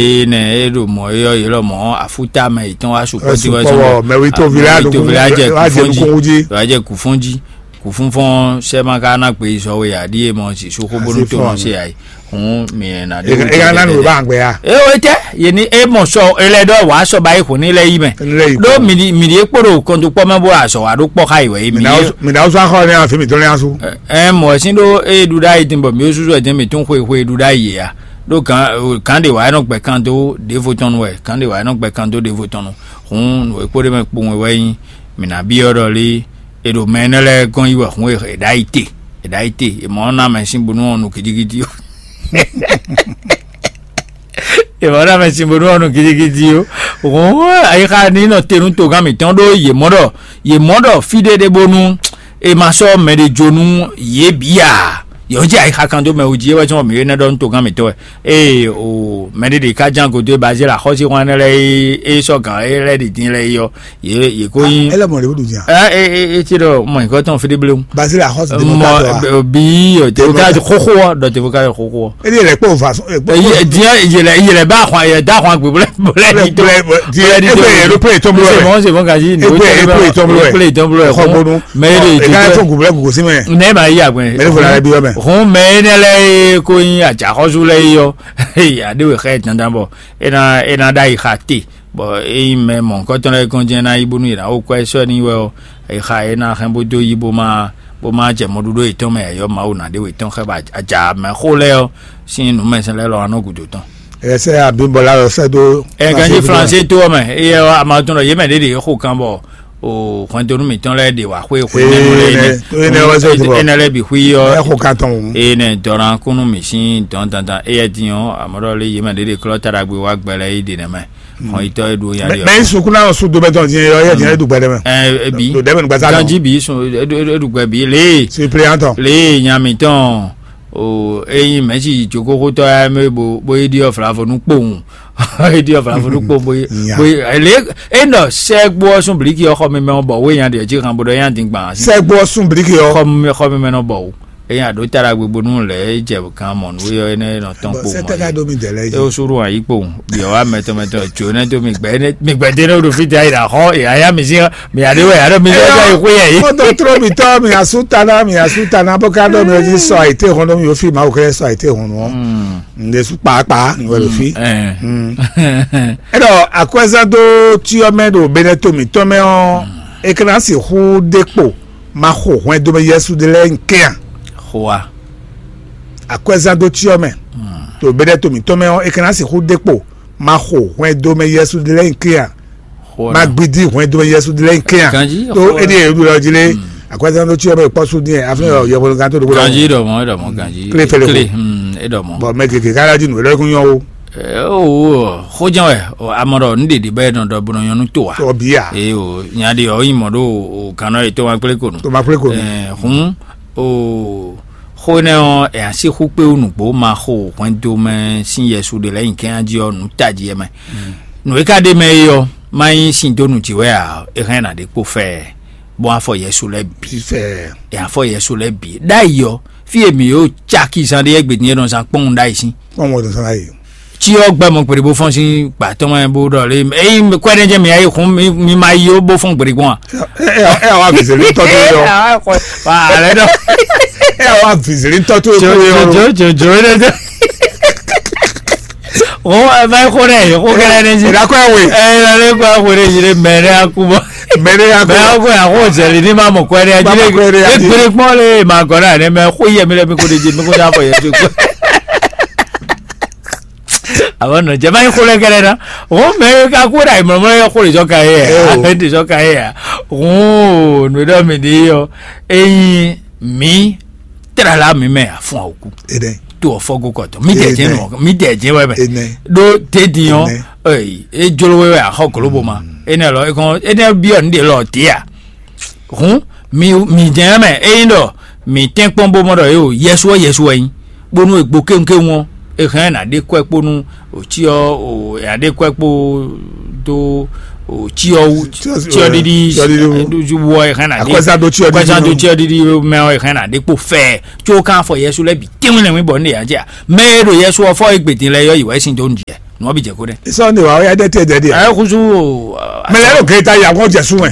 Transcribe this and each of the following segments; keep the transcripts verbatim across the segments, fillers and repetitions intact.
Ée nɛ é ɖo mɔ̌ é ɔ́, yě lɔ mɔ̌ afúta mɛ yětɔn wá sukpɔ́ jí wɛ sɔn bɔ mɛwítɔ́ ví lɛ wá ɖo kú fɔ́n jí, wá jɛ kú fɔ́n jí, wá jɛ kú fɔ́n jí. Kú fɔ́n fɔ́n sɛ́ ma ka ná gbe yi zɔ we ǎ ɖíe mɔ zǐ sú xó bónú to nɔ se ǎ yi. Hǔn mǐ ná ɖe. E ka ná nǔ bá gbɛ ya. E o tɛ ye ni e mɔ sɔ e lɛ ɖɔ wàá sɔ ba yi xo ní lɛ yi mɛ. Ɖó mǐ ɖi mǐ ɖi e kpo ɖo kɔntukpɔ mɛ bó azɔ wa ɖó kpɔ xa yi wɛ yi mǐ. Mǐ ná wúzú axɔ ní afi mǐtɔn lé asú. Ɛ mɔ ɛ sín ɖó e ɖu ɖ'ayǐ dín bɔ mǐ ó súsú ɛ dín mǐ tún xwe xwe ɖu ɖ'ayǐ yě ya. Ɖó gǎn gǎn ɖe wǎ é nɔ gbɛ kan dó ɖěvo tɔn nu wɛ gǎn ɖe wǎ é nɔ gbɛ kan dó ɖěvo tɔn nu. Hǔn nǔ e kpo ɖ'é mɛ kpowun wɛ nyí mǐ ná byɔ́ ɖɔ lé e ɖo mɛ énɛ́ lɛ́ɛ gɔ́n yi wɛ hǔn e è ɖǎ yi te è ɖǎ yi te è mɔ ɔ́ ná mɛ sín bónú ɔ́ nu gidigidi ó. È mɔ ɔ́ ná mɛ sín bónú ɔ́ nu gidigidi ó. Hǔn ayixa ní nɔ te nú togán mǐtɔn ɖó yě mɔ ɖɔ yě mɔ ɖɔ fí ɖé ɖé bónú è ma sɔ́ mɛ ɖé jó nú yě bǐ ǎ. Yě ɔ́ jí ayixa kan dó mɛ wú jí é wɛ cɔ́n mǐ é nɛ́ ɖɔ nú togán mǐtɔn wɛ. Ée o mɛ ɖé ɖě ká ján gǒdo e Bazíla xɔ́síxɔ́n énɛ́ lɛ́ɛ e é sɔ́ gǎn é lɛ́ɛ ɖi din lɛ́ɛ é ɔ́, yě yě kó nyí. Ele mɔ ɖě wúdu nya. Ɛ é é é tí ɖɔ mɔ nyǐkɔ tɔn fí ɖé bléwu. Bazíla xɔ́sí de mɔ mɔ bí tèvóká xóxó ɔ ɖɔ tèvóká xóxó ɔ. Ele yɛlɛ kpɔ va sɔn. Diɛ yɛlɛ yɛlɛ bá xɔn yɛ da xɔn gbé blɛ blɛ di tó blɛ di blɛ di tó. Ebe yɛ ló pé tó blɛ. C'est bon, c'est bon, Kazi. Ebe yɛ ló pé tó blɛ. Pé tó blɛ. Xɔ gbónú. Mɛ e de ká tó gùn blɛ gùn sí mɛ. Ne ma yi agbɛn. Mɛ ne fɔlɔ alẹ́ bí wɛ mɛ. Hun mɛ ne lɛ ko yin àjàkɔsù lɛ yɔ. Aɖéwé xɛ dandan bɔ ena ena ɖa yi xa te. Bɔ eyi mɛ mɔ̌hunkɔtɔn lɛ́ɛ kɔn jɛ́n ná yi bónú yě ná wó kwɛ́ sɔ́ n'i wɛ ɔ́, è xa é ná hɛn bó dó yí bó má bó má jɛ mɔɖuɖó yětɔn mɛ ǎ, yɔ Mawu ná ɖe wětɔn xɛ bɔ aja mɛ xó lɛ́ɛ ɔ́ sín nǔmɛsɛn lɛ́ɛ lɔ wá nɔ gǔdo tɔn. Ɛ sɛ abimɔ la lɔ sɛ dó. Ɛ ganji Flansé tó ɔ́ mɛ, eyɛ ɔ́, a ma tunɔ yě mɛ ɖě ɖě xo kan bɔ o hwɛntonu mǐtɔn lɛ́ɛ ɖe wǎ xwé xwé nɛnu lɛ́ɛ énɛ́ lɛ́ɛ bǐ xwí ɔ́. Ɛ xo kan tɔn. Eye nɛ dɔran kúnnu mǐ sín dɔn dandan eyɛ din ɔ́, amɔ̌ ɖɔ lé yě mɛ ɖě ɖě klɔ́ taɖagbe wá gbɛ lɛ́ɛ yi ɖě nɛ́ mɛ. Hɔn yitɔ e ɖo ya ɖi. Mɛ yi sukuna o su do bɛ tɔn diɲɛ yɔ yɛ diɲɛ eɖu gbɛ ɖe mɛ. Ɛ bi do ɖe mɛ gbasa ganji bi sun eɖu gbɛ bi lee. Suppléant tɔn. Lee nya mitɔn o eyi mɛsi jokoxotɔ ya mɛ bo bo yi ɖiɔ flavo nu kpowun. Yi ɖiɔ flavo nu kpowun bo yi bo yi le e nɔ sɛ gbɔ sun bliki ɔ xɔ mi mɛ bɔ wo nya ɖe ji han bo ɖɔ nya din gban. Sɛ gbɔ sun bliki ɔ. Xɔ mi xɔ mi mɛ nɔ bɔ wo. Eya ɖo ta ɖagbe bónú lɛ̌ é jɛ kan mɔ nǔ é ɔ́ énɛ́ nɔ tɔn kpo mɔ é. Sɛtɛka dó mi dɛlɛ é yí. Ó sú ɖo ayí kpo. Biɔ wa mɛtɔn mɛtɔn tso nɛ dó mi gbɛ nɛ mi gbɛ dé nɛ ɖo fí da yi ɖa xɔ yaya mi sí mi aɖe wɛ aɖe mi yɔ yɔ xó yɛ yí. Kótó tró mi tɔ mi asú tana mi asú tana bó ká dó mi jí sɔ àyíté hɔn dó mi yóò fi ma wò kɛ sɔ àyíté hɔn nù ɔ. Ǹdè sú kpàákpàá ní wɛ ɖo fí. Ɛ. Ɛɖɔ akwɛzán dó tí ɔmɛ ɖo bɛnɛ tó mi tɔmɛ ɔ. Ekena si xú dé kpo. Ma xo hwɛndo mɛ Yɛsu ɖe lɛ́ɛ nyi kɛ́n a? Xo a? Akwɛzán dó cyɔ mɛ. To bɛ́ɖɛ́ to mǐtɔn mɛ ɔ́, è ka ná sixú ɖe kpo. Ma xo hwɛndo mɛ Yɛsu ɖe lɛ́ɛ nyi kɛ́n a? Xo ma na. Gbidi hwɛndo mɛ Yɛsu ɖe lɛ́ɛ nyi kɛ́n a? Ganji, tó xo é na. Ɖi yɛ ɖu lɔ jí lé. Akwɛzán dó cyɔ mɛ kpɔ́ sú dín ɛ afin yɔ yɛhwelógán tó ɖokpó. Ganji ɖɔ mɔ, ɖɔ mɔ, ganji. Kle fɛlɛ xo. Kle, hmm, é ɖɔ mɔ. Bɔn mɛ gègé kára jí nǔ é lɔ kún nyɔ o. Ɛ, o, o, xóján wɛ, o, amɔ ɖɔ nu ɖeɖe bɛ nɔ ɖɔ bɔ nɔ nyɔnu to wa. Tɔ bia. Ee o, nya ɖe ɔ yi mɔ ɖo o kan nɔ yi to ma kple ko nu. To ma kple ko nu. Ɛ, hun o xó nɛ ɔ ɛ asi xú kpe nugbo ma xo hwɛndo mɛ sin Yɛsu ɖe lɛ nyi kɛn adi ɔ nu taji yɛ mɛ. Nu e ka ɖe mɛ yi ɔ ma nyi sin do nu ji wɛ a e hɛn na ɖe kpo fɛ. Bɔn afɔ Yɛsu lɛ bi. Fɛ. E afɔ Yɛsu lɛ bi. Ɖa yi ɔ fi e mi yo caki zan ɖe yɛ gbe din e nɔ zan kpɔn ɖa yi sin. Kpɔn wɔ zan ɖa yi. Tí ɔ gbɛ mɔ gbèdé bó fɔn sín gbà tɔn mɛ bó ɖɔ lé eyi kwɛ ɖe jɛ mi ayi kun mi ma yi ó bó fɔn gbèdé gbɔn a. Ɛ ɛ wa vizeli tɔ tó yɔ. Alɛ dɔ. Ɛ wa vizeli tɔ tó yɔ. Jojo jojo ɖe dɛ. O ɛ bá yẹ kó dɛ yẹ kó kẹlẹ dɛ si. Ìdákọ̀ ẹ̀ wè. Ẹ ẹ lẹ kó ẹ wò dɛ yìí dɛ mẹ dɛ akú bọ. Mɛ ɖé ya mɛ gbé. Ɔkò yà kó zɛlɛ ní ma mɔ kɔ ɛdí Bá ma kɔ ɛdí adílé adí. Egbèrè kpɔn lé ma gɔ náà ní mɛ kó yẹ mi lɛ mi kó de dzi mi kó dza fɔ yẹ tó kó. Àwọn nɔ jẹ báyìí kó lẹ kẹlẹ náà. Wọn mɛ ká kó dà ìmọ̀lẹ́ mọ́lẹ́ kó lè sọ ka yẹ Ẹ o. Ẹ lè sọ ka yẹ ya. Wọn ò nù dɔ mi di yọ. Eyin mi tẹ̀lé la mi mɛ àfún àwòkú. Ede. Tó ọ̀fọ́ gó kọ̀tọ̀ mi dẹ̀ jẹ́ Ede. Nù mi dẹ̀ jẹ́ wẹ́ mẹ́. Ede. Dó tèdí yọ. Ede. Ey, e jolo wɛ wɛ axɔ golobo ma. Ene lɔ ekɔn ene biɔ nu de lɔ tia. Hun mi mi jɛn mɛ eyin dɔ mi tɛn kpɔn bo mɔ dɔ e o yɛsu ɔ yɛsu wɛ nyi. Bonu egbo kéwunkéwun ɔ e hɛn na de kɔ kponu o tsi ɔ o ya de kɔ kpo do o tsi ɔ wu tsi ɔ didi wɔ e hɛn na de akɔsa do tsi ɔ didi mɛ ɔ e hɛn na de kpo fɛ tso kan fɔ yɛsu lɛ bi tɛnwin lɛ mi bɔ ne ya jɛ mɛ e do yɛsu ɔ fɔ egbe din lɛ yɔ yi wɛ sin do nu jɛ. Nǔ ɔ́ bǐ jɛ kó ɖɛ. Sɔ ne wà ó yá ɖɛ tɛ dɛ ɖi. Ɛ kusu. Mɛ lɛ ɖo gɛta ya kɔn jɛ su mɛ.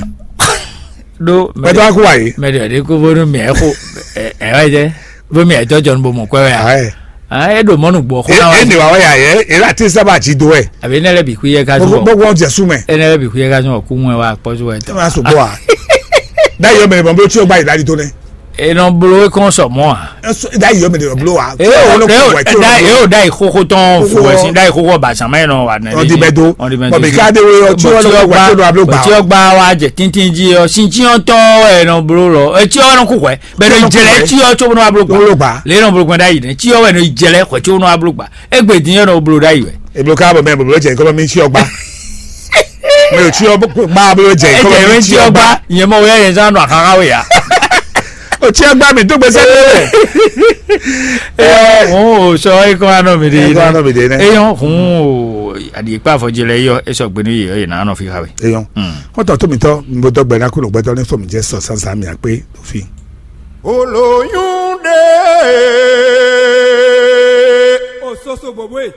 Ɖo mɛ tɔ kó wa yi. Mɛ ɖe ɖe kó bónú mɛ ɛ xo. Ɛ wá jɛ. Bó mɛ ɛ tɔ jɔnu bó mɔ kwɛ wɛ a. Ɛ ɖo mɔnu gbɔ xó na wa. E ne wà ó yá yɛ e la ti sábà ti do ɛ. Àbí ne lɛ bì kú yɛ ká zɔ. Bó wọ́n jɛ su mɛ. E ne lɛ bì kú yɛ ká zɔ kú mɔ ɛ wa kpɔzu ɛ tɔ. Ɛ ma so bɔ a. Dá yɔ mɛ bɔ bó tí o gbá yìí dá di tó nɛ. E nɔ bló e kɔn sɔ mɔ a. Dá yɔ mɛ blo wa. E o da e o da yi xóxó tɔn fún ẹ sí da yi xóxó ba sàn mɛ nɔ wa nɛ. Ɔdi bɛ do. Ɔdi bɛ do. Bɔbi ká de wo yɔ tí wọn lọ wà tí wọn lọ ablo gbà. Tí wọn gbà wa jẹ tíntín jí yɔ sí tí wọn tɔ ẹ nɔ bló lọ ẹ tí wọn kú wẹ bẹ ní jẹlẹ tí wọn tó wọn ablo gbà. Lọ gbà. Lè nɔ bló gbà da yi nẹ tí wọn wẹ ní jẹlẹ kọ tí wọn ablo gbà. Egbe dín yọ nɔ bló da yi wẹ. Eblo ká bɔ mɛ blo jẹ kọ́ mi tí wọn gbà. Mi ò tí wọn gbà blo jẹ kọ́ mi tí wọn gbà. Ìyẹn mọ wẹ yẹn sá nọ àkàrà wẹ yá. O tí wọn gbà mí tó gbèsè lé. Ẹ ò sọ ẹ kọ́ àná mi dé. Ẹ kọ́ àná mi dé nẹ. Eyɔn hun o àdìyẹ kpá àfọ̀jẹ lẹ yọ ẹ sọ gbẹnu yìí ẹ nà nọ fi ha wẹ. Eyɔn. Kɔntɔ tó mi tɔ mi bó dɔgbɛ náà kó ló gbẹtọ ní fọmi jẹ sọ sansan mi àpé tó fi. Olóyún dé. Òsoso bòbó e.